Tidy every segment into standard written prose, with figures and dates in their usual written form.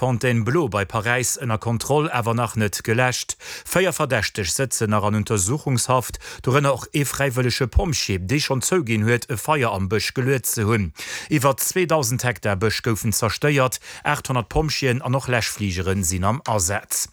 Fontainebleau bei Paräis ënner Kontroll, awer nach net geläscht. 4 Verdächteg sëtzen nach an Untersuchungshaft, dorënner och ee fräiwëllege Pompjee, dee schonn zouginn huet, e Feier am Bësch geluet ze hunn. Iwwer 2.000 Hektar Bësch goufen zerstéiert, 800 Pompjeeën an och Läschfligere sinn am Asaz.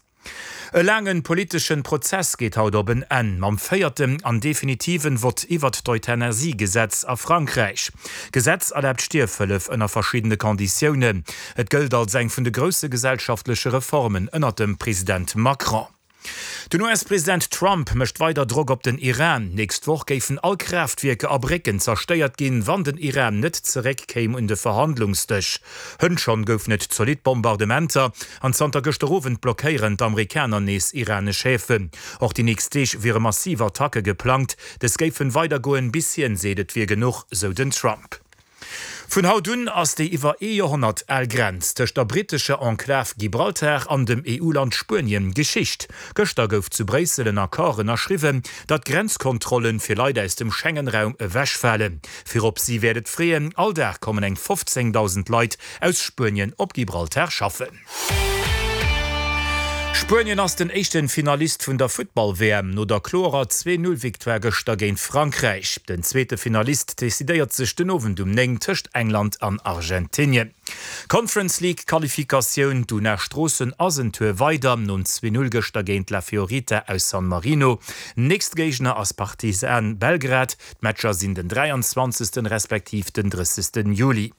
E laangen politeschen Prozess geet haut op en Enn, mam véierten an definitiven Vott iwwert d'Euthanasie-Gesetz a Frankräich. D'Gesetz erlaabt Stierfhëllef ënner verschiddene Konditiounen. Et gëllt als eng vun de grousse gesellschaftleche Reformen ënnert dem President Macron. Den US-President Trump mécht weider Drock op den Iran. Nächst Woch géifen all Kraaftwierker a Brécken zerstéiert ginn, wann den Iran net zeréck kéim un de Verhandlungsdësch. Hënt schonn goufen et zolidd Bombardementer an zanter gëschter Owend blockéieren d'Amerikaner nees iranesch Häfen. Och déi nächst Deeg wiere massiv Attacke geplangt. Dës géifen weidergoen, bis hien seet, et wier genuch, sou den Trump. Vun haut un ass déi iwwer ee Joerhonnert al Grenz tëscht der brittescher Enklav Gibraltar an dem EU-Land Spuenien Geschicht. Gëschter gouf zu Bréissel en Accord ënnerschriwwen, datt d'Grenzkontrollen fir Leit aus dem Schengen-Raum ewechfalen. Virop si wäert et freeën, all Dag kommen eng 15.000 Leit aus Spuenien op Gibraltar schaffen. Spuenien ass den éischten Finalist vun der Futtball-WM no der kloerer 2, 0 Victoire gëschter géint Frankräich. Den zweete Finalist decidéiert sech den Owend um 9 tëscht England an Argentinien. Conference League Qualifikatioun, D'Una Stroossen ass en Tour weider nom 2, 0 gëschter géint La Fiorita aus San Marino. Nächste Géigner ass Partizan Belgrad. D'Matcher sinn den 23. Respektiv den 30. Juli.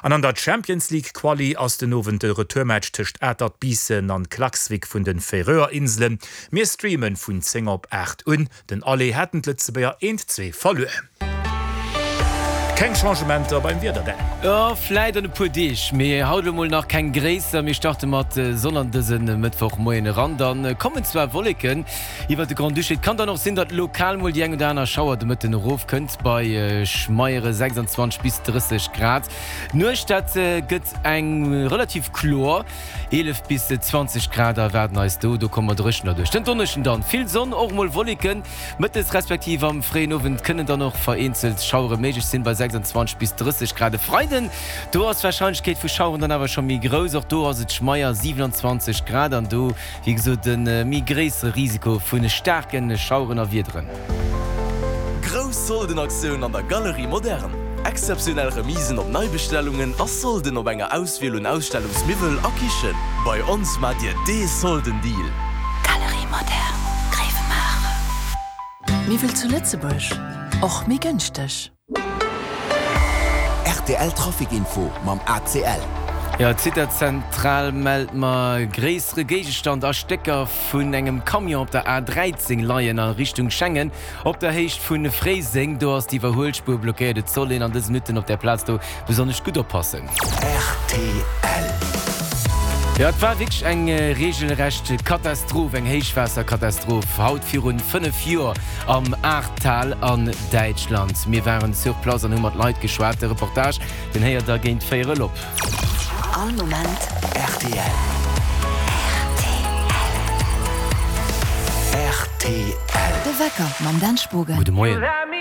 An an der Champions League Quali ass den Owend de Retourmatch tëscht Atert Biissen an Klaksvik vun den Färöer Inselen. Mir streamen vun 10 op 8 un. Den Aller haten d'Lëtzebuerger 1, 2 verluer. Keng Changementer beim Wieder, Dan? Jo, vläit an e puer Deeg, mee haut elo mol nach keng gréisser. Mir starte mat Sonn an dëse Mëttwochmoien eran, dann kommen zwar Wolleken Iwwert de Grand-Duché. Et kann dann och sinn, datt lokal mol déi eng oder aner Schauer de Mëtten erofkënnt, bei schmeiere 26 bis 30 Grad. D'Nuecht, dat gëtt eng relativ kloer, 11 bis 20 Grad erwaarden eis do. Do komme mer dréchen derduerch. Den Donneschden dann vill Sonn, och mol Wolleken. Mëttes respektiv am fréien Owend kënnen dann och vereenzelt Schauere méiglech sinn, bei 26 bis 30 Grad. E Freiden, do ass d'Warscheinlechkeet vu Schaueren dann awer scho méi grouss, och do ass et schmeier, 27 Grad an do Wéi gesot e méi gréissere Risiko vu staarke Schaueren a Wiederen. Grouss Soldenaktioun an der Galerie Moderne! Exzeptionell Remisen op Neibestellungen a Solden op enger Auswiel un Ausstellungsmiwwel a Kichen. Bei ons maacht Dir dee Soldendeal! Galerie Moderne, Gréiwemaacher. Miwwel zu Lëtzebuerg, och méi gënschteg. Rtl Trafic Info mam ACL. Jo, d'Zitterzentral mellt mer gréissere Géigestand a Stécker vun engem Camion op der A13 leien a Richtung Schengen op der Héicht vu Fréiseng. Do ass d'Iwwerhuelspuer blockéiert. Et soll een an dëse Minutten op där Plaz do besonnesch gutt oppassen. Rtl. Jo, et war wierklech eng reegelrecht Katastroph, eng Héichwaasserkatastroph haut virun 5 Joer am Ahrtal an Däitschland. Mir waren sur place an hu mat Leit geschwat. De Reportage, den héiert der géint véierel op. All Moment rtl. Rtl. De Wecker mam Dan Spogen. Gudde Moien.